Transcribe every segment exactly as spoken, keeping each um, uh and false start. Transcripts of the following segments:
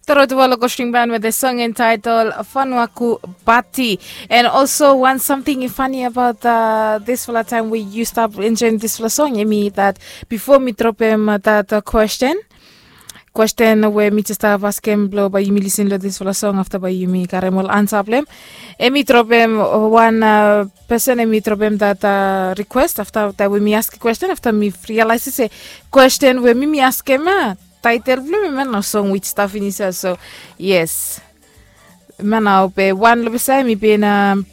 Toro tu walo kosting ban with a song entitled Fanuaku Pati. And also one something funny about uh, this fala time we you stop enjoying this fala song. I mean that before me drop him uh, that uh, question, question where me just have ask him blow by yumi listen to this fala song after by yumi karem all answer blem. Emi drop him uh, one uh, person emi drop him that uh, request after that we me ask a question after me realize say question where me me ask him uh, title blem him and a song which stuff in his so yes. Mana ope wan lo beside mi bin um,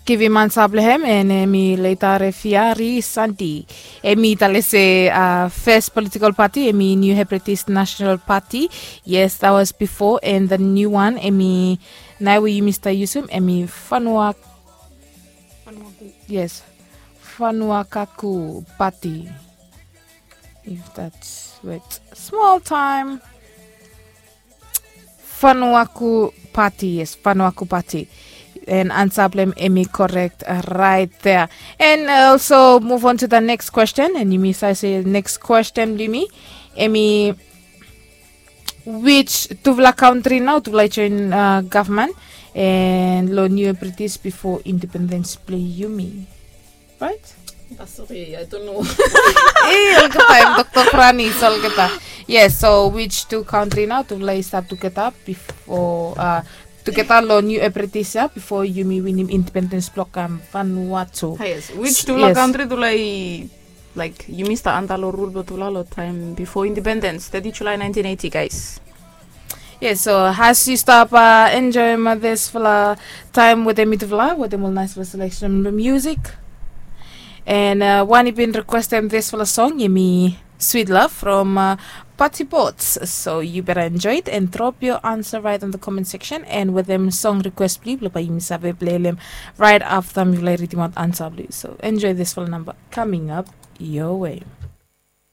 give him answer blem him and uh, mi later refia ri santi. Emi tale se uh, first political party emi new hepretist national party. Yes, that was before and the new one emi nai we you mr yusum emi fanua. Yes, fanuakaku party. If that's wait small time. Fanuaku party, yes, Fanuaku party. And answer blem emi correct uh, right there. And also move on to the next question and yumi say say next question blimi emi which tuvla country now tuvla join uh, government and lo new british before independence play yumi, right? Sorry, I don't know. Eh, olgeta em doktor frani so olgeta. Yes, so which two country now tuvla i start together before uh, together lo new ebritish ya before yumi winim independence block am Vanuatu. Yes, which tuvla country tuvla i like yumi start under lo rule blo tuvla lo time before independence thirty July nineteen eighty guys. Yes, so has you stop uh, enjoy this fla time with them it fla with them all nice fla selection of music. And uh, one been request them this fla song yumi Sweet Love from uh, Party Boats. So you better enjoy it and drop your answer right in the comment section. And with them song request blue, blue by Yumi Save play them right after me like reading out answer blue. So enjoy this fla number coming up your way.